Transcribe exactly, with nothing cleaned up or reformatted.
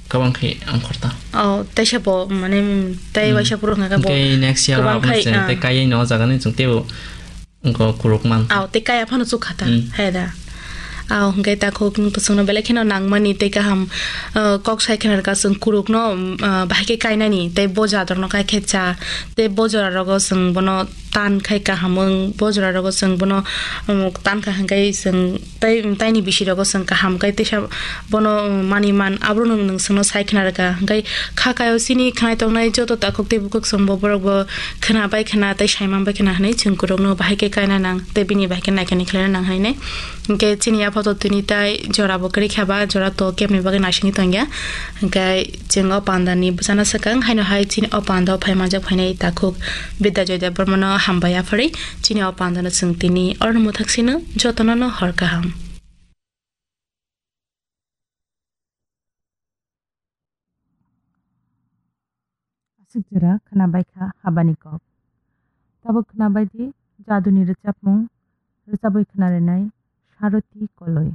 Kabang khe ang khorta. Oh, tei se bo, mane, mm, tei Mm. waisa phuru hwnka khe bo Hwnkhe next year kwbang rok khai, se ah. tei kaiwi no o jaga ni chwng teibo wngkha kuruk man. Aw, tei kaya phano chukha ta, Mm. hai da. Aw, hwnkhe takhuk chwngno belai kheno nangmani tei kaham, ah, kok sai khna rwkha chwng kurukno, mm, ah, bahai khe kainani tei bo jadorno kai khe cha. Tei bo jora rogo chwng bono tan khai kaham wng, bo jora rogo chwng bono, um, tan kha hwnkhe chwng tei, taini bisi rogo chwng kaham khe teisa bono, um, mani man, abrono nwng chwngno sai khna rwkha. Hwnkhe kha kaio chini khnai tongnai joto takhuk tei bukhuk chwng bo borok bo khna bai khna tei sai man bai khna hwnwi chwng kurukno bahai khe kaina nang tei bini bahai khe naikani khlaina nang hwnwi nai. Hwnkhe chini yapha to tini tai jora bo kwrwi kha ba, jora to kebni bagwi naisingwi tongya. Hwnkhe chwng o panda ni bwsano swkang haino hai chini o panda o phai manjak phainai takhuk Bidya Joy Debbarma no hambai yapharwi chini o panda no chwng tini orno mwthak sino jotono no hor kaham. Aswk jora khwnabaikha habani kok. Tabuk khwnabaidi jaduni rwchapmung rwchabwi khwnarinai Saroti Koloi.